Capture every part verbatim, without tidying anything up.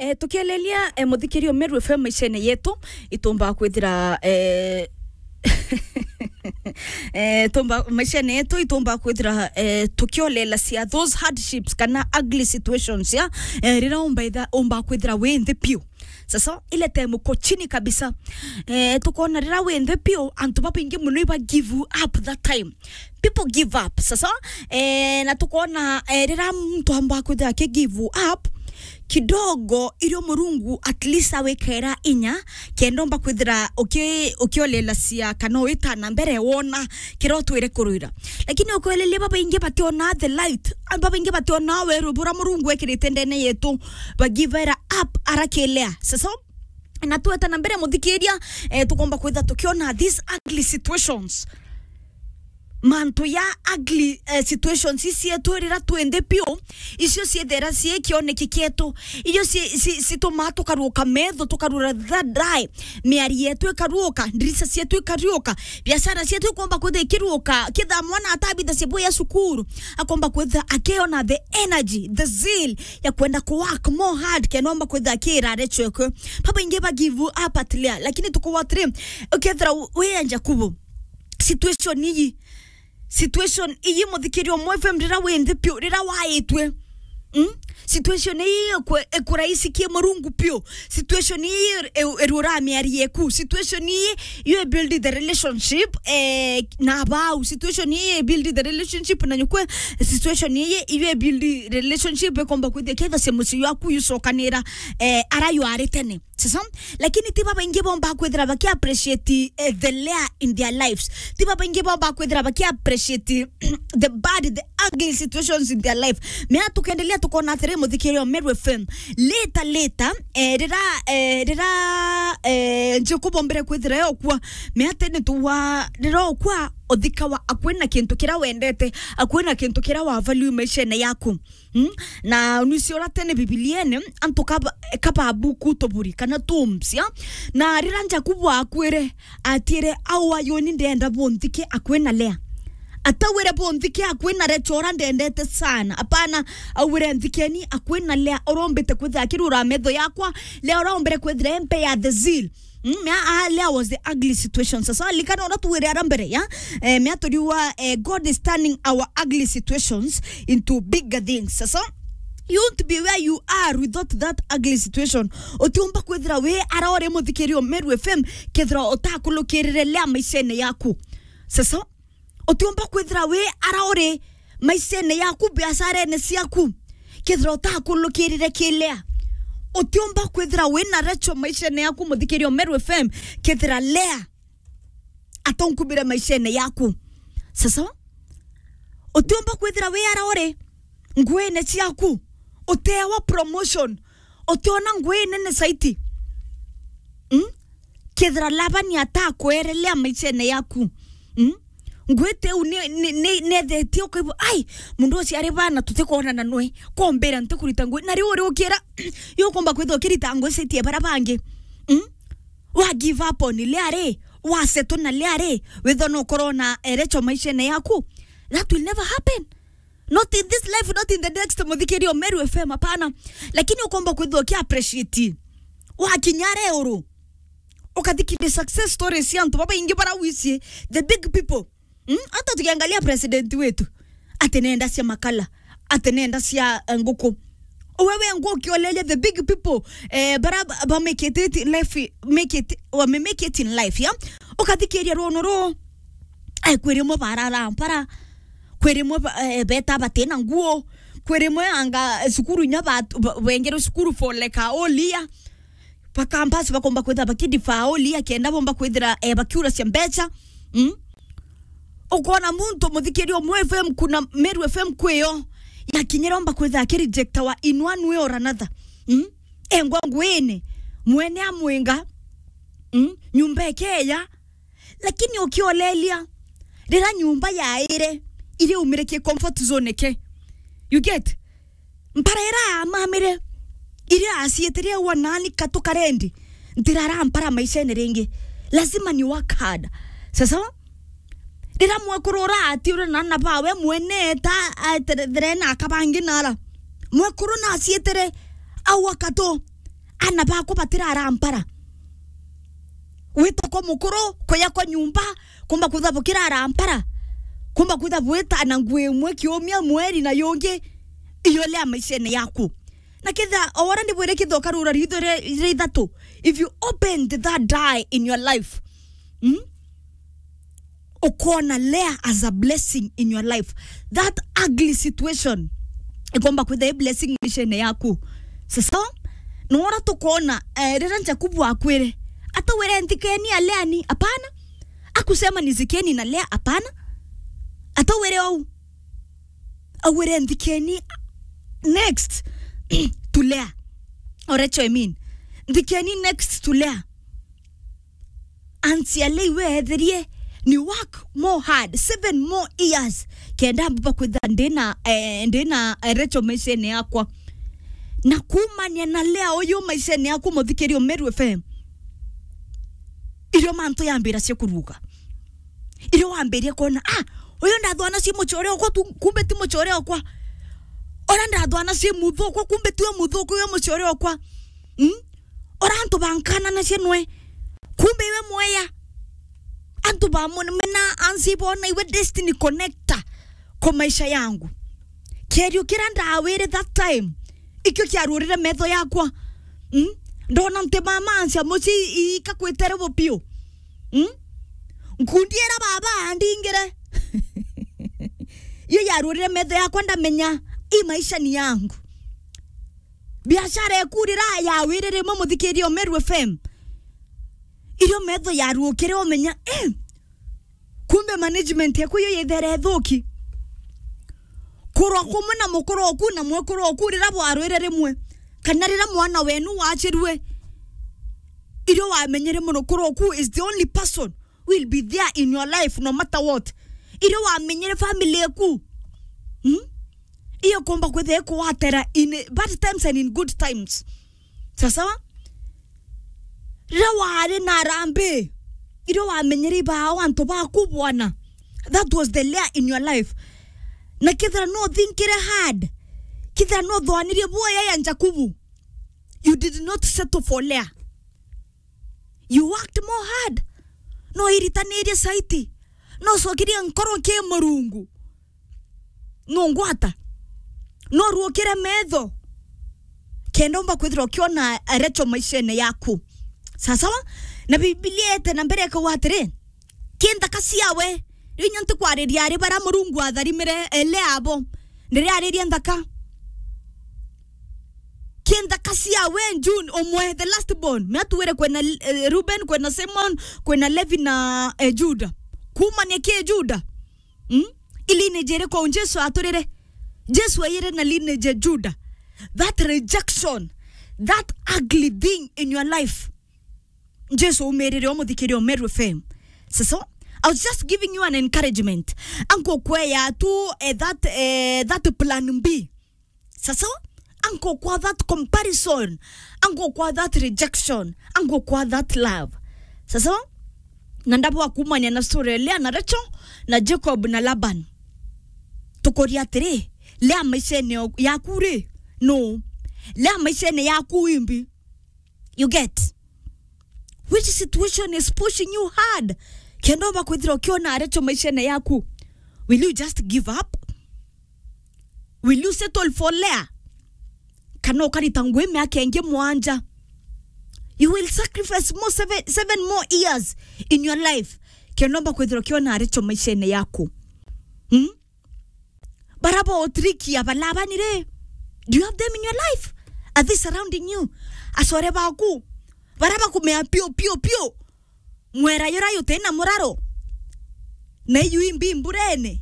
Eh, tukielelia, eh, muthikirio Meru F M maishene yetu, itumba kwithira, eh, eh, tumba, maishene yetu, itumba kwithira, eh, tukiolela cia those hardships kana ugly situations, ya, eh, rira umba itha-, umba kwithira wi nthi piu. Sasa, ile time uko chini kabisa. Eh, tukona rira wi nthi piu, antu babaingi muno iba give up that time. People give up. Sasa, eh, na tukona, eh, rira muntu amba kwithira aki give up, kidogo, irio Murungu at least awikera inya, kenda umba kwithira uki-, ukiolela cia kana witana mbere wona kira utwire kurwira. Lakini ukwelelia babaingi bationa the light, babaingi bationa weru bura Murungu ekirite ndene yetu, bagivera up arakilea. Sasa, na tweta na mbere muthikiria, eh, tukomba kwitha tukiona these ugly situations. Mantu ya ugly, eh, situations icietu rira twi nthi piu, icio ciethera cii kioneki kietu, icio ci-, ci-, citumaa tukaruuka metho, tukarura thadai, miari yetu ikaruuka, ndirisa cietu ikaruuka, biashara cietu ikomba kwitha ikiruuka, kitha mwana atabitha cibu ya cukuru, akomba kwitha akiona the energy, the zeal ya kwenda ku work more hard, kenda omba kwitha akira arecwekwe. Babaingi ba give up at lea, lakini tukuwa atiri, ukethira u-, wi ya Jakubu, situation iyi, situation iyi, muthikiria umwe F M, rira wi nthi piu, rira waitwe, mm? Situation iyi ikwe-, ikuraisi ki Murungu piu. Situation iyi ir-, ir-, irura miari yeku. Situation iyi, you build the relationship, eh, na bau. Situation iyi build the relationship na nyukwe. Situation iyi, you build relationship ikomba kwithia ketha se mucii waku yucokanira, eh, ara yuari tene. Sasa, lakini ti babaingi bomba kwithira baki appreciate, eh, the layer in their lives. Ti babaingi bomba kwithira baki appreciate the bad, the ugly situations in their life. Mea tukendelea tukona atiri muthikirio Meru F M. Later, later, eh, rira, eh, rira, eh, Jakubu ombere kwithira yokwa. Mea tene tuwa, rira okwa, uthikawa akwina kintu kira wendete, akwina kintu kira wa value maishene yaku. Mm? Na nwisi ura tene Bibiliene, antu kaba-, kababuku tuburi, kana tombs, ya? Na rira Jakubu akwire, atire, "Au ayoni ndenda bunthike akwina Lea." Atawire bunthike akwina Rachel ura ndendete sana. Apana, awire, "Nthikeni akwina Lea, urombite kwithira akirura metho yakwa, Lea urombire kwithira empe ya the zeal." Mm, mea, ah, Lea was the ugly situation. Sasa, likana ura tuwire ara mbere, ya? Eh, mea turiwa, eh, God is turning our ugly situations into bigger things. Sasa, you won't be where you are without that ugly situation. Utiumba kwithira wi ara uri muthikirio Meru F M, kethira utakulukirire Lea maishene yaku. Sasa, utiumba kwithira wi ara uri maishene yaku, biasharene ciaku, kethira utakulukirire ki Lea. Utiumba kwithira wi na Rachel maishene yaku, muthikirio Meru F M, kethira Lea atonkubire maishene yaku. Sasa, utiumba kwithira wi ara uri nguine ciaku, utewa promotion, utiona ngui nene saiti. Mm? Kethira Labani atakwerelea maishene yaku. Mm? Ngui teu ni, ni, ni, nethetie ukaigua, "Ai, mundu ucio ari bana tutikwonana nwe. Kombira ntikurita ngui." Na riu uri ukira, yo ukomba kwithira ukirita ngui citie bara bangi. Mm? Wa give up on Lea ri, wa settle na Lea ri, witho no ukorwo na erecho maishene yaku. That will never happen. Not in this life, not in the next, muthikirio Meru F M, hapana. Lakini ukomba kwithwa uki appreciate. Wakinya reuru. Ukathikiria success stories cia antu babaingi bara wicie, the big people. Mm? Hata tukiangalia president wetu, ati nenda cia makala, ati nenda cia, eh, nguku. Wewe nguo ukioleria the big people, eh, bara ba, ba make it, it in life, make it, wame make it in life, ya? Ukathikiria runo ru, eh, kwi rimwe barara mpara, kwi rimwe ba, eh, beta batina nguo, kwi rimwe anga, eh, cukuru inya ba, ba, bengere cukuru for like a whole year. Ba campus bakomba kwithira bakidifaa ulia kenda bomba kwithira, eh, bakiura cia mbecha. Mm? Ukona muntu muthikiria umwe F M kuna Meru F M kwiyo, yakinyira omba kwithira akirejectawa in one way or another. Mm? Engwa nguine, mwene amwinga, mm? Nyumba ikeya, lakini ukiolelia, rira nyumba yaire, iriumire ki comfort zone ke. You get? Mpara ira amamire, iria acietirie ua nani katukarendi, ntirara mpara maishene ringi. Lazima ni work hard. Sasa, rira mwekuru ura atiure na ana bawe mwene ta aeterethere na akabangi nara. Mwekuru na acietere au akatu. Ana bakwa batirara mpara. Wita kwa mukuru, kuya kwa nyumba, kumba kwitha bukirara mpara. Kumba kwitha bwita na nguo imwe kiumia, mweri na yungi, iyo Lea maishene yaku. Na kethira, o wara ndibwire kethira ukarura ritho ri-, ri ithatu, if you opened that die in your life, mm? Ukoona Lea as a blessing in your life. That ugly situation ikomba kwitha i blessing maishene yaku. Sasa, nora tukoona, eh, riria Jakubu akwire, atawire nthikeni a Lea ni, apana. Akusema nizikeni na Lea, apana. Atawire ou. Awire nthikeni next to Lea. Or Rachel, I mean. Nthikeni next to Lea. Ansi a Lea iwe eethirie ni work more hard, seven more years, kenda mbuba kwitha ndina, eh, ndina, eh, Rachel maishene yakwa. Na kuumania na Lea uyu maishene yaku, muthikiri o Meru F M, irio mantu yambira cia kuruga. Irio wambirie kwona, "Ah, uyu ndathwana ci mucore okwa tu, kumbe ti mucore okwa. Ora ndathwana ci muthuku, kumbe tiwe muthuku, uyu mucore okwa." Mm? Ora antu bankananacia nwe, kumbe iwe mweya. Antu bamumena ansi bona iwe destiny connector kwa maisha yangu. Kierio kiria ndawire that time, ikio kiarurire metho yakwa. Mm? Ndona nti mama ansia muci ika kwitere bupio. Mm? Nkundi ira baba andingire. Iyo yarurire metho yakwa, ndamenya i maisha ni yangu. Biashara eku rira yawire rimwe, muthikiri o Meru F M, irio metho yaruukire, umenya, eh, kumbe management eku iyo yithere ithuki. Kurwa kumwe na mukuru oku na mwekuru oku rira bwarwire rimwe, kana rira mwana wenu wachirue, irio wamenyere mukuru oku is the only person will be there in your life no matter what. Irio wamenyere family eku, hmm? Iyo komba kwitha ikuwatera in bad times and in good times. Sasawa? Riria wari na arambi, irio wamenyere ibao antu baku bwana, that was the Lea in your life. Na kethira no thinkire hard, kethira no thwanirie bwoya ya Jakubu, you did not settle for Lea. You worked more hard. No iritanirie saiti. No cokirie nkoro ki Murungu. No ngwata. No ruukire metho. Kenda umba kwithirwa ukiona Rachel maishene yaku. Sasawa? Na Bibilia ete na mbere ikauga atiri, ki nthaka ciawe. Riu inya ntikwariria ari bara Murungu atharimire, ele abo. Ndiriariria nthaka. Ki nthaka ciawe June umwe, the last born. Me atuwire kwina, eh, Reuben, kwina Simon, kwina Levi na, eh, Juda. Kuumania ki Juda? Mm? I lineage iriku Jesu aturire? Jesu aiyire na lineage ya Juda. That rejection, that ugly thing in your life. Jesu umirire o muthikiri o Meru F M. Sasawa? I was just giving you an encouragement. Anko kweya tu, eh, that, eh, that plan B. Sasawa? Anko kwa that comparison. Anko kwa that rejection. Anko kwa that love. Sasawa? Na ndabwa kumanya na story ya Leah na Rachel na Jacob na Laban. Tukuria atiri, Leah maishene yaku ri? No. Leah maishene yaku imbi? You get? Which situation is pushing you hard? Kenda umba kwithira ukiona Rachel maishene yaku, will you just give up? Will you settle for Leah? Kana ukarita ngui miaka ingi mwanja? You will sacrifice more seven, seven more years in your life. Kenda umba kwithira ukiona Rachel maishene yaku. Hmm? Bara bo utrikia ba Labani ri? Do you have them in your life? Are they surrounding you? Acore baku, bara bakumea piu, piu, piu. Mwera yura yuti na muraro. Na iyu imbi mburene.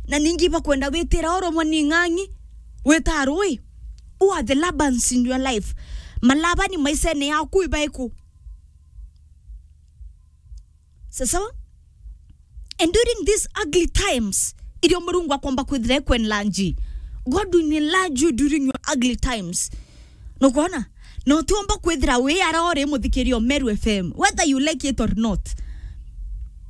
Na ningi bakwenda witira oro mwa ni ng'ang'i. Wita rui. Who are the Labans in your life? Malabani maisene yaku ibaiku? Sasawa? And during these ugly times, irio Murungu akomba kwithira ekwenlanji, God will enlarge you during your ugly times. Nukwona? Na utiomba kwithira wi ara uri muthikiri o Meru F M, whether you like it or not.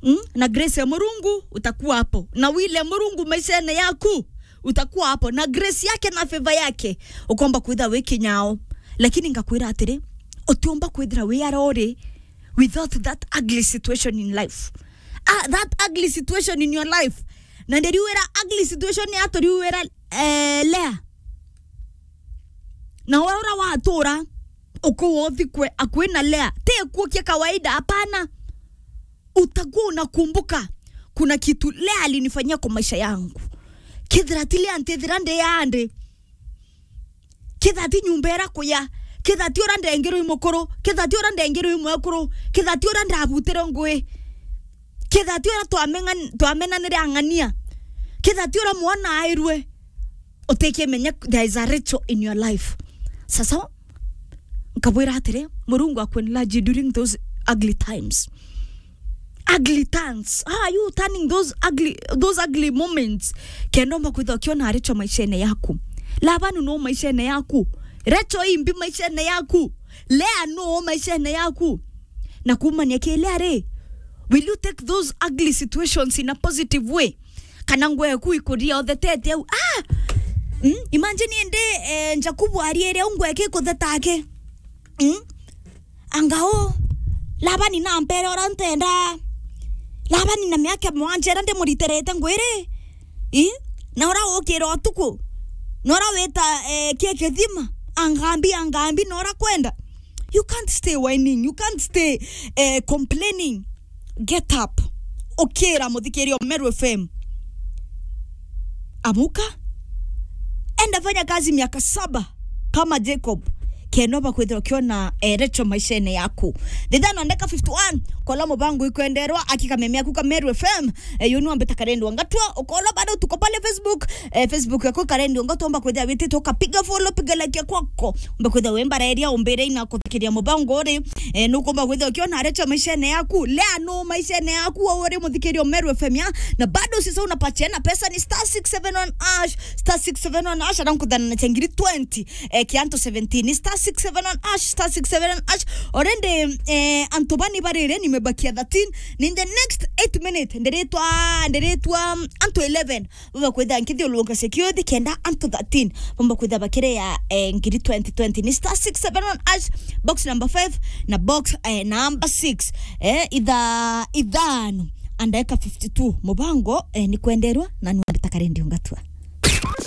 Mm? Na grace ya Murungu, utakuwa hapo. Na wile Murungu maishene yaku, utakuwa hapo. Na grace yake na favor yake, ukomba kwithira wi kinyao. Lakini ngakwira atiri, Utiumba kwithira wi aria uri without that ugly situation in life. Ah, that ugly situation in your life. Na ndiriuira ugly situation ya turiuira, eh, Lea. Na we ura watura ukuwa uthikwe akui na Lea. Ti ikuo kia kawaida, hapana. Utakuwa unakumbuka kuna kitu Lea alinifanyia kwa maisha yangu. Kethira ti Lea, ntithira ndi andi. Kethira ti nyumba ira kuya. Kethira ti ura ndengirwe i mukuru. Kethira ti ura ndengirwe i mwekuru. Kethira ti ura ndabutire ngui. Kethira ti ura twamengan-, twamenanire ang'ania. Kethira ti ura mwana airwe. Utikimenya there is a Rachel in your life. Sasa, nkabwira atiri, Murungu aku enlarge during those ugly times. Ugly times. How are you turning those ugly, those ugly moments? Kenda umba kwithirwa ukiona Rachel maishene yaku. Labani no maishene yaku. Rachel imbi maishene yaku. Lea no maishene yaku. Na kumania ki Lea ri, will you take those ugly situations in a positive way? Kana ngwe yaku ikuria uthetete au? Ah! Mm? Imagine indi, eh, Jakubu ariere au ngwe yake ikutheta ake. Mm? Anga u, Labani nampere ura ntenda. Labani na miaka mwanja ira ndimuriterete ngwiri. I? Na ura ukira utuku. Na ura wita, eh, kie kithima. Angambi, angambi, na ura kwenda. You can't stay whining. You can't stay, eh, complaining. Get up. Ukira, muthikiria wa Meru F M. Amuka. Enda fanya kazi miaka saba kama Jacob. Kenda umba kwithirwa ukiona, eh, Rachel maishene yaku. Thithano ndeka fifty-one, kola mubango ikwenderwa, aki kameme aku ka Meru F M, eh, yunu ambita Karendi wa Ngatua, ukola bado tuko pale Facebook, eh, Facebook yako Karendi wa Ngatua, umba kwithirwa witite ukapiga follow, piga like ya kwako, umba kwithirwa wembareria umbire ina kuthikiria mubango uri, eh, nukumba kwithirwa ukiona Rachel maishene yaku, Lea no maishene yaku, wewe uri muthikiria wa Meru F M ya, na bado usisahau unapatiana pesa ni star six seven one hash, star six seven one hash, arankuthana na chengiri twenty, eh, kia antu seventeen, star six seven one hash, star six seven one hash. Already, eh, antu bani barire, nimebakia thirteen. In the next eight minutes, ndiritwa, ndiritwa, um, antu eleven. Baba kwitha nkithiurunka security kenda antu thirteen. Bamba kwitha bakire ya, eh, ngiri twenty twenty. Ni star six seven one hash, box number five, na box, eh, number six. Eh, itha-, ithano, andeka fifty-two. Mubango, eh, ni kwenderwa, na nwambita Karendi wa Ngatua.